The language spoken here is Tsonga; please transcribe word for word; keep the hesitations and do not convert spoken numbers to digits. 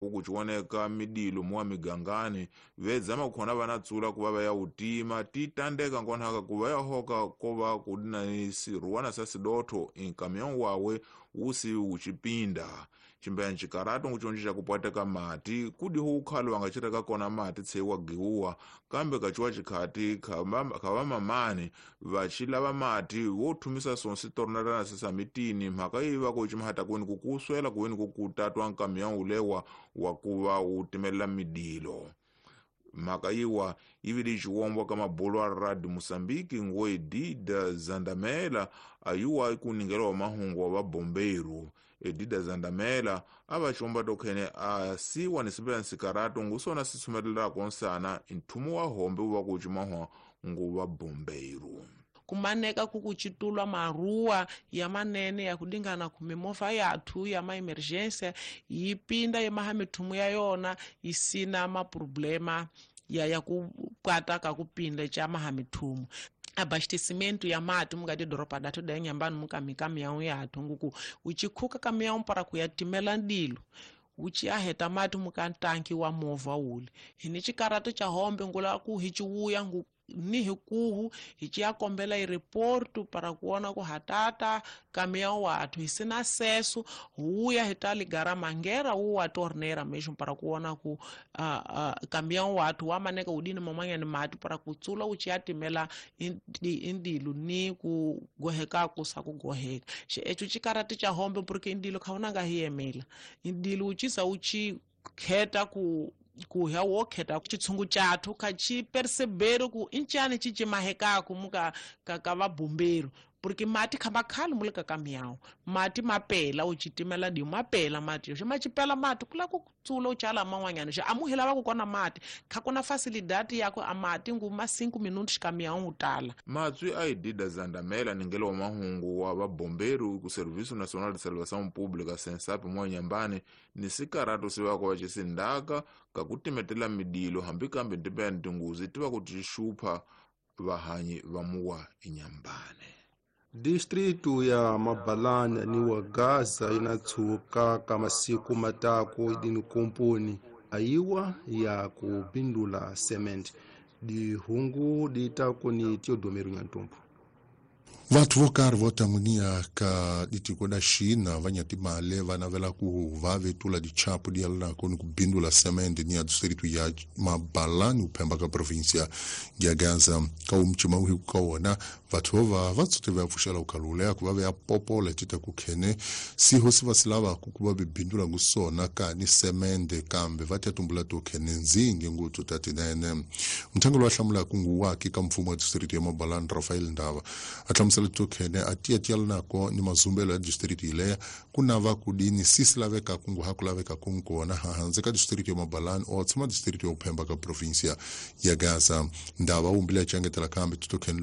Kukuchiwoneka midilo muwa migangani vedzama kukhona vanatsula kuva va ya utima titandeka nkonhaka kuva yahoka kova kudina siruwana sa sidotho inkamião wawe usi uchipinda chimbeya ncikarato nguchonji cakupwateka mati kudiho ukhalo wangacireka kona mati tseiwa giuwa kambe kaciwa cikhati khava mamani vacilava mati wothumisa sonsi tornarana sisamitini mhaka yi va kucimahata kuweni kukuswela kuweni kukutatwa nkamião ulewa wakuva utimelela midilo. Mhaka yiwa yivili ciwombwa ka mabolo a Radio Moçambique ngo Edida Zandamela ayuwa ikuningela wa mahungu wa vabombeiro. Edida Zandamela ava ciwomba tokhene asiwa ni sipela nsikarato ngusona sisumelelako nsana nthumu wa hombe uva kucimahwa ngu vabombeiro. Kumaneka kukuchitulwa maruwa ya manene ya kudingana kumimofa yathu ya ma-emergência yipinda yemaha mithumu ya yona isina maproblema ya ya kupwata ka kupinda cha maha mithumu. Abastecimento ya mati mukati doropa datu da Inhambane mukamikamião yathu nguku uchikhuka kamião para kuyatimela ndilo uchiaheta mati mukantanki wa movha ule hini chikarato cha hombe ngula ku hichiuya ngu ni hikuhu hichiyakombela ireportu para kuona ku hatata kamião wathu hisina acesso huya hitaligara mangera uwa torneira mesmo para kuona ku uh, uh, kamião wathu wamaneka udini mamanya ni mati para kutsula uchiyatimela indilu ni kugoheka kusa kugoheka echo chikarati cha hombe porque indilo khaonanga hiyemela indilo uchisa uchi kheta ku kuhya wokheta chitshungu chathu kha chi percebero ku inchani chichimahekaku muka ka ka vabombeiro porque mati khamba khali mule ka kamião mati mapela uchitimela di mapela mati xi machipela mati kula ku tsula uchala man'wanyana xi amuhela va ku kona mati kha kuna facilidade yako a mati ngu ma cinco minutos kamião utala. Matswi a Edida Zandamela ningelo wa mahungu wa vabombeiro ku Serviço Nacional de Salvação Pública SENSAP mwa Inhambane ni sikarato sivako va cisindaka kakutimetela midilo hambi kambe ntipeya ntinguzi tiva ku tixupha vahanyi va muwa Inhambane. Distritu ya Mabalana ni wa Gaza inatshuka ka masiku matako idini komponi ayiwa ya kubindula cement dihungu ditako ni Teodomero Nyantompo. Vathu vo karhi vo tamunia ka ditiko da China va nyatimale va navela ku va vetula dichapu di yalanako ni kubindula semende ni ya distrito ya Mabalani uphemba ka província ya Gaza ka umcima uhiku ka wona vathu vova va tsote va pfuxela ukalulea ku va ve ya popola tita ku khene siho si va si lavaku ku va bibindula ngusona ka ni semende kambe va tia tumbula to khene nzingi ngutsu ta tinene. Mthango lowa hlamulaka nguwaki ka mfumo wa distrito ya Mabalani Rafael Ndava a hlamusela tokhene a tiya tiyalanako ni mazumbelo ya district ileya ku nava kudini sisi laveka kungu ha ku laveka kunkona hanze ka district ya Mabalani o tshama district ya uphemba ka província ya Gaza. Ndava wumbile ya changetela kambe tokhene.